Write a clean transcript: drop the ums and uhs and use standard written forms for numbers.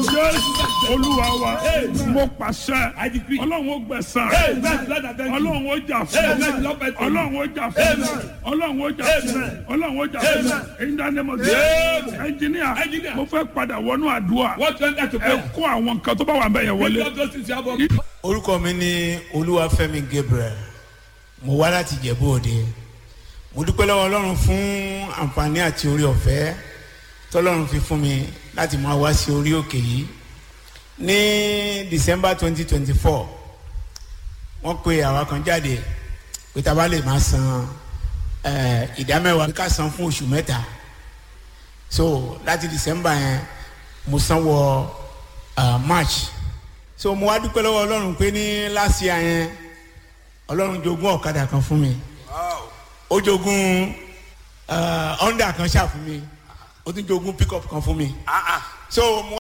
Jésù Olúwa wa. Amen. Mo pàṣẹ. I decree. Ọlọ́run ó gbẹ̀san. Amen. Lord, I thank you. Ọlọ́run ó jà fún. Amen. Lord, I thank you. Ọlọ́run ó jà fún. Amen. Ọlọ́run ó jà fún. Amen. Ọlọ́run ó jà fún. Amen. In the name of Jesus. Amen. Engineer, Engineer. mo fẹ́ padà wọnú àdúrà. What to enter to Ẹ prayer? kó àwọn nǹkan tó bá wà bẹ́ẹ̀ yẹn wọlé. Lift up those things you have on. Orúkọ mi ni Olúwafẹ́mi Gabriel. Mo wá láti Ìjẹ̀bú Òde. Mo dúpẹ́ lọ́wọ́ Ọlọ́run fún àǹfààní àti orí ọ̀fẹ́ tọ́lọ́run fi fún mi láti máa wá sí orí òkè yìí. Ní December 2024, wọ́n pe àwa kan jáde pé tá a bá lè máa san ìdá mẹ́wàá ká san fún oṣù mẹ́ta. So láti December yẹn mo san wọ March. So mo wá dúpẹ́ lọ́wọ́ Ọlọ́run pé ní last year yẹn, Ọlọ́run jogún ọ̀kadà kan fún mi, ó jogún Honda kan ṣáà fún mi, ó tún jogún pickup kan fún mi. So mo